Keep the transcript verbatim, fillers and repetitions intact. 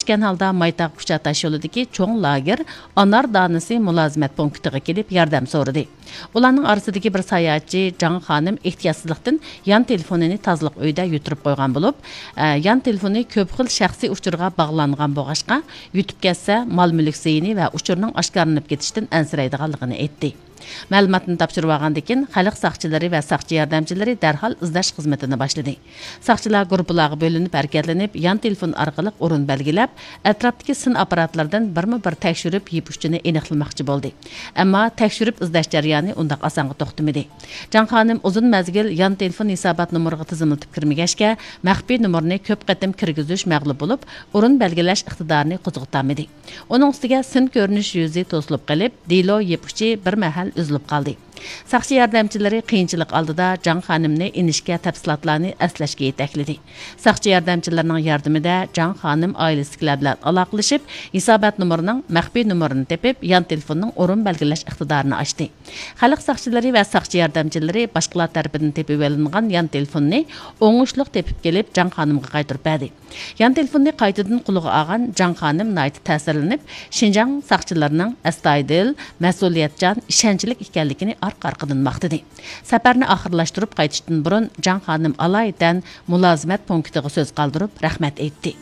كۈتكەن ھالدا مايتاغ كۇچا تاشيولىدىكى چوڭ لاگېر ئانار دانىسى مۇلازىمەت پونكىتىغا كېلىپ ياردەم سورىدى. ئۇلارنىڭ ئارىسىدىكى بىر ساياھەتچى جاڭ خانىم ئېھتىياتسىزلىقتىن يان تېلېفونىنى تازىلىق ئۆيىدە يۈتۈرۈپ قويغان بولۇپ، ئە، يان تېلېفونى كۆپ خىل شەخسىي ئۇچۇرغا باغلانغان بولغاچقا، يۈتۈپ كەتسە، مال-مۈلۈك زىيىنى ۋە ئۇچۇرنىڭ ئاشكارىلىنىپ كېتىشىدىن ئەنسىرەيدىغانلىقىنى ئېيتتى. مەلۇماتنى تاپشۇرۇۋالغاندىن كېيىن، خەلق ساقچىلىرى ۋە ساقچى ياردەمچىلىرى دەرھال ئىزدەش خىزمىتىنى باشلىدى. ساقچىلار گۇرۇپپىلارغا بۆلۈنۈپ ھەرىكەتلىنىپ، يان تېلېفون ئارقىلىق ئورۇن بەلگىلەپ، ئەتراپتىكى سىن ئاپپاراتلىرىدىن بىرمۇ بىر تەكشۈرۈپ، يىپ ئۇچىنى ئېنىقلىماقچى بولدى. ئەمما تەكشۈرۈپ ئىزدەش جەريانى ئۇنداق ئاسانغا توختىمىدى. جاڭ خانىم ئۇزۇن مەزگىل يان تېلېفون ھېسابات نومۇرىغا تىزىملىتىپ كىرمىگەچكە، مەخپىي نومۇرنى كۆپ قېتىم كىرگۈزۈش مەغلۇپ بولۇپ، ئورۇن بەلگىلەش ئىقتىدارىنى قوزغىتالمىدى. ئۇنىڭ ئۈستىگە سىن كۆرۈنۈش يۈزى توسۇلۇپ قېلىپ، دېلو يىپ ئۇچى بىر مەھەل ئۈزۈلۈپ قالدى. ساقچى ياردەمچىلىرى قىيىنچىلىق ئالدىدا جاڭ خانىمنى ئىنىشكە تەپسىلاتلارنى ئەسلەشكە يېتەكلىدى. ساقچى ياردەمچىلىرىنىڭ ياردىمىدە جاڭ خانىم ئائىلىسىدىكىلەر بىلەن ئالاقىلىشىپ، ھېسابات نومۇرىنىڭ مەخپىي نومۇرىنى تېپىپ، يان تېلېفوننىڭ ئورۇن بەلگىلەش ئىقتىدارىنى ئاچتى. خەلق ساقچىلىرى ۋە ساقچى ياردەمچىلىرى باشقىلار تەرىپىدىن تېپىۋېلىنغان يان تېلېفوننى ئوڭۇشلۇق تېپىپ كېلىپ، جاڭ خانىمغا قايتۇرۇپ بەردى. يان تېلېفوننى قايتىدىن قولىغا ئالغان جاڭ خانىم ناھايىتى تەسىرلىنىپ، شىنجاڭ ساقچىلىرىنىڭ ئەستايىدىل، مەسئۇلىيەتچان، ئىشەنچلىك ئىكەنلىكىنى ئارقا-ئارقىدىن ماختىدى. سەپەرنى ئاخىرلاشتۇرۇپ قايتىشتىن بۇرۇن، جاڭ خانىم ئالايىتەن مۇلازىمەت پونكىتىغا سۆز قالدۇرۇپ، رەھمەت ئېيتتى.